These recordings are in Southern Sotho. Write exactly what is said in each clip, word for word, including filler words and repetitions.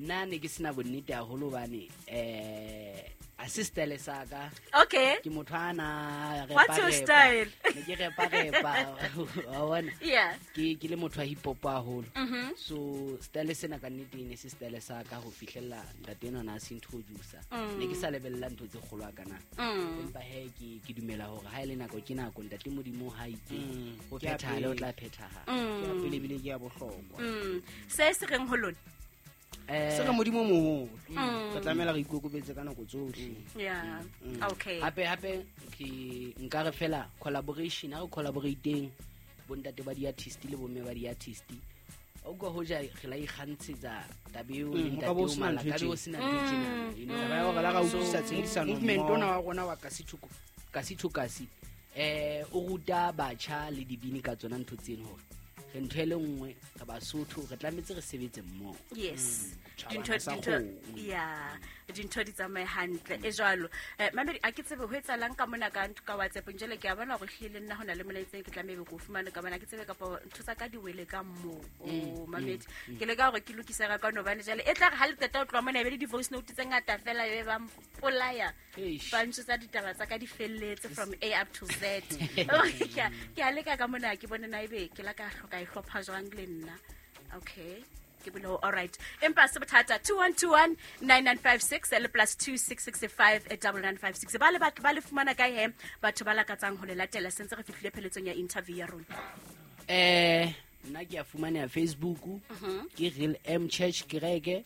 Nna ne ke sena bonnete haholo hobane eh a se style sa ka. Okay. Ke motho a na repa. What's your style? Ne ke repa repa. Wa bona? Yeah. Ke ke le motho wa hip hop haholo. Mhm. So style sena ka nnete ne se style sa ka ho fihlella ntate enwa na se introducer. Mm. Ne ke sa lebella ntho tse kgolo a kana. Mm. Empa he ke ke dumela hore ha ile nako ke nako ntate Modimo ha itse Mm. ho Ke ya phethahala o pele. tla phethahala. Ke ya Mm. pele ebile ke ya bohlokwa. Mm. Se se reng ho lona? Eh Se re Modimo moholo. Mm. Re tlamehela re ikokobetse ka nako tsohle. Yeah. Mm. Okay. Hape hape ke nka re fela collaboration ha re collaborateng bontate ba di-artist le bomme ba di-artist. O utlwa hoja re la ikgantshetsa taba eo le Mm, ho ka ntate bo o sena Mala, ntho e ka be ho tjena. sena ntho e tjena, you know. Taba ya hore la ra So, utlwisisa tshebedisano movement mmoho. ona wa rona wa kasi to kasi to kasi eh o ruta batjha le dibini ka tsona ntho tseno hore re ntho e le nngwe re Basotho re tlametse re sebetse mmoho. Yes. Tjhabana Dintho sa dintho kgomo. yeah, dintho di tsamaye hantle e jwalo. Eh mamedi a ke tsebe ho etsahalang ka mona ka ka WhatsApp njele ke a bona hore hlile le nna hona le molaetsa ke tlameha ebe ke o fumane ka bona ke tsebe kapa ntho tsa ka di wele ka moo. O mamedi ke leka hore ke lokise ka kwano hobane jwale e tla re ha le qeta ho tloha mona e be le di-voice note tse ngata fela e be ba mpolaya. Eish. Ba ntshotsa ditaba tsa ka di felletse from A up to Z. Ke a- ke a leka ka mona ke bone na ebe ke la ka hloka e hlopha jwang le nna. Okay. Ke bole ho all right. Empa se bothata two one two one nine nine five six le plus two six six five double nine five six. Ba le batho ba le fumana kae he batho ba lakatsang ho le latela sentse re fihlile pheletsong ya interview ya rona. Eh nna ke a fumaneha Facebook ke Real M Church Kereke,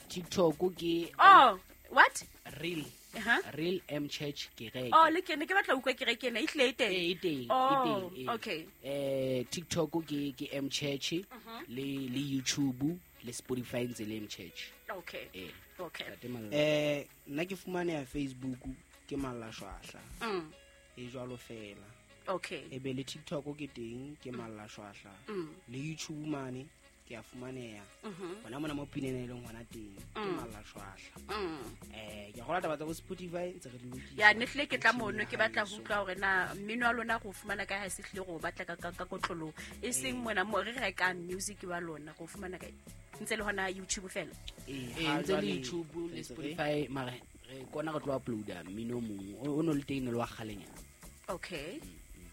TikTok ke Oh, what? Real Uh-huh. Real M Church Kereke. Oh, le ke ne ke batla ho utlwa kereke ena e hlile e teng. Eh, e teng, e Oh, teng, eh. okay. Eh TikTok ke ke M Church le le YouTube le Spotify ntse le M Church. Okay. Eh. Okay. Ntate Malla. Eh nna ke fumaneha Facebook ke Malla Shwahla. Mm. E jwalo fela. Okay. E be le TikTok ke teng ke Malla Shwahla. Mm. Le YouTube mane ke a fumaneha. Mhm. Hona mona mo pineng e leng hona teng ke Malla Shwahla. Mm. Eh ke a kgolwa taba tsa bo Spotify ntse re di lokisa. Ya ne hlile ke tla mono ke batla ho Haeso. utlwa hore na mmino wa lona go fumana kae ha se hlile go batla ka ka ka kotloloho. E seng mona mo re rekang music wa lona go fumana kae. Ntse le hona YouTube fela. Eh, Eh ha ntse le jwale YouTube le re ntse re- Spotify mare re kona re tlo uploada mmino o mong o no le teng le wa kgalenyana. Okay.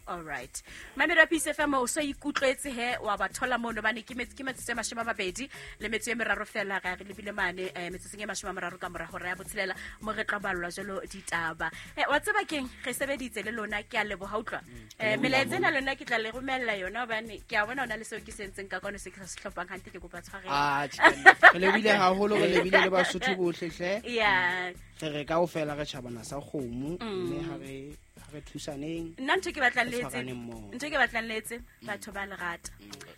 All right. Mamedi wa Peace F M o so ikutlwetse he wa ba thola mono bane ke metse ke metsotso e mashome a mabedi le metso e meraro fela ra re lebile mane eh, metsotsong e mashome a mararo ka mora hora ya botshelela mo re tla ballwa jwalo ditaba. Eh, wa tseba keng re sebeditse le lona ke a leboha utlwa. Eh, melaetsa ena lona ke tla le romella yona hobane ke a bona hona le seo ke se entseng ka kwano se ke sa se hlopang hantle ke kopa tshwarelo. Ah, tjhe. Re lebile haholo re lebile le Basotho bohle hle. Yeah. Re re kaofela re tjhabana sa kgomo mme ha re ha re thusaneng. Nna ntho ke batlang Re le etse tshwaraneng mmoho. ntho ke batlang le etse batho ba lerata.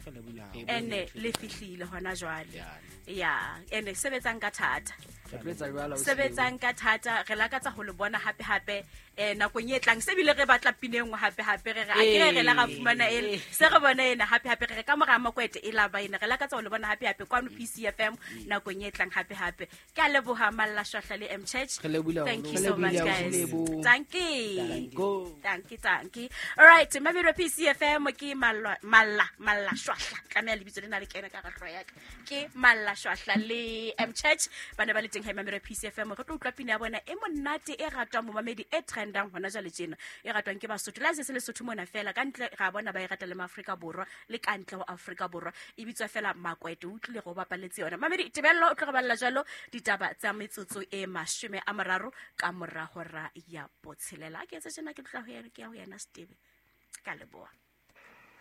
Re lebile haholo. Ene le fihlile hona jwale. Ya. Ya, ene sebetsang ka thata. Re tlo etsa jwalo, ausi Sebetsang ka thata, re lakatsa ho le bona hape hape eh nakong e tlang. Se bile re batla pina e nngwe hape hape re re a ke re re la ra fumana e se re bona ena hape hape re re ka mora makwete e la ba ena. Re lakatsa ho le bona hape hape kwano P C F M nakong e tlang hape hape. Ke a leboha Malla Shwahla le M Church. Re lebohile Thank you haholo. so much Re lebohile guys. haholo. Thank you. Danko. Thank you, thank you. All right, Mamedi wa P C F M ke Malla Malla Malla Shwahla. Tlameha lebitso lena le kene ka hara hlooho ya ka. Ke Malla Shwahla le M Church. Ba ne ba le teng he Mamedi wa P C F M. Re tlo utlwa pina ya bona e monate e ratwang momamedi e trendang hona jwale tjena. E ratwang ke Basotho. Le ha se se Lesotho mona fela ka ntle ra bona ba e rata le Maafrika Borwa le ka ntle ho Afrika Borwa. E bitswa fela Makwete. O utlwile go bapaletse yona. Mamedi Tebello o tlo re balla jwalo ditaba tsa metsotso e mashome a mararo ka mora hora ya botshelela. A ke etse tjena ke tla ho yena ke ya ho yena Steve. Ka leboha.